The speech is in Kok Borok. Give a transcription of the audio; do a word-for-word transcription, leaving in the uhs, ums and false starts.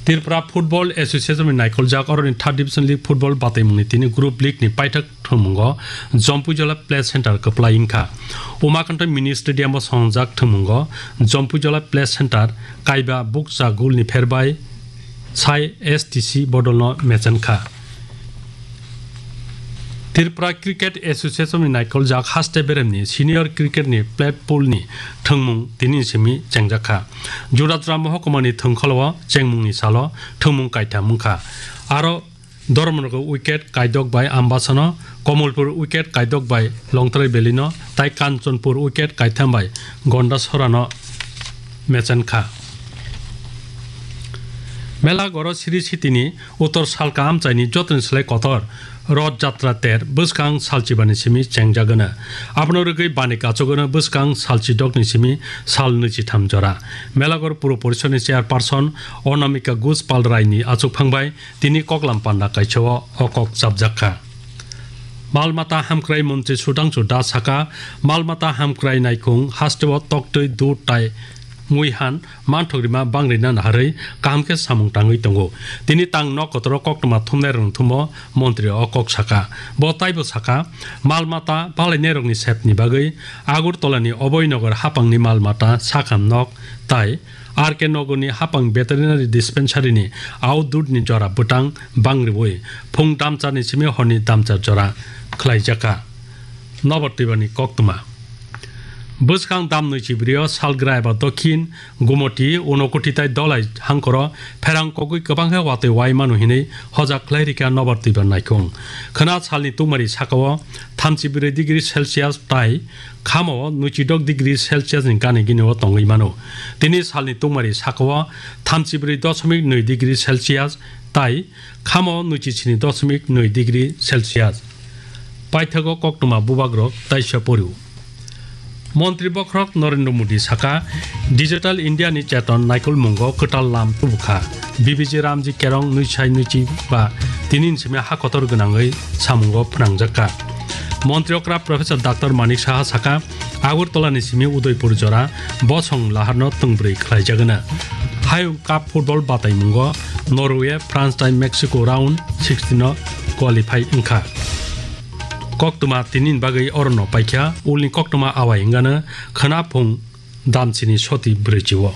Tripura Football Association ni naikoljak oroni Third Division League Football bataimungni tini Group League ni paithak thwngmungo Jampuijala Play Center kwplai wngkha. Umakanto Mini Stadium o swngjak thwngmungo Jampuijala Play Center kaiba bukcha goal ni pherbai sai S T C bodolno mechankha. Tripura Cricket Association ni naikoljak haste beremni senior cricket ni plat pool ni thwngmung tini simi chengjakha. Jura jura mohokuma ni thwngkholo chengmung ni salo thwngmung kaitham wngkha. Aro Dharmanagar wicket kaidok bai Ambasano, Kamalpur wicket kaidok bai Longtrai Valley no, tai Kanchanpur wicket kaitham bai Gondasora no mechankha. Mela goro Sri Sitini Uttor Salka amchaini jotoni slai kotor Roth Jatra ter bwskang salchibani simi chengjagwno. Abono rwgwi bani kachogwno bwskang salchidokni simi sal nwichitham jora. Melagor Puro Porishoni Chairperson Onamika Guspal Raini achukphang bai tini koklam panda kaisao o kok chapjakha. Malmata hamkrai montri Sudhangshu Das saka, malmata hamkrai naikhung hasteo toktwi dud tai muihan manthok rima bangrina naharwi kaham khe samung tangwi tongo. Tini tang nok kotoro koktwma thumnai rwng thumo montri o kok saka. Bo taibo saka, malmata balainai rokni sepni bagwi Agartala ni Abhay Nagar hapangni malmata sakham nok tai R K Nagarni hapang veterinary dispensary ni outdoor ni jora bwtang bangriwi phung damchar ni simi horni damchar jora khlaijakha. Nobar twibani koktwma. Bwskang dam nwi chibrio Salgrai eba Dokhin, Gumoti, Unokoti tai Dolai hangkoro pherang kogwi kwbang khe watwi wai mano hinwi hojak khlai rikha nobar twibar naikhung. Khwna salni tungmari sakao thamchi brwi degree Celsius tai khamao nwichidok degree Celsius ni gani gini o tongwi mano. Tini salni tungmari sakao thamchi brwi dosomik nwi degree Celsius tai khamao nwichi sini dosomik nwi degree Celsius. Paithago koktwma bubagrok taisa porio. Montri bokhorok Narendra Modi saka, Digital India ni cheton naikolmungo kwtal lam tubukha. B B G Ramji Kerong nwi sai nwichi ba tini ni simi ha kotor gwnangwi samungo phnangjakha. Montri okra Professor Doctor Manik Saha saka, Agartala ni simi Udaipur jora bosong laharno tungbrwi khlaijagwna. Hayung Cup football bataimungo Norway, France tai Mexico round sixteen o qualify wngkha. Koktwma tini ni bagwi orono paikha, ulni koktwma awai wngano khwna phung damchini soti brwichi o.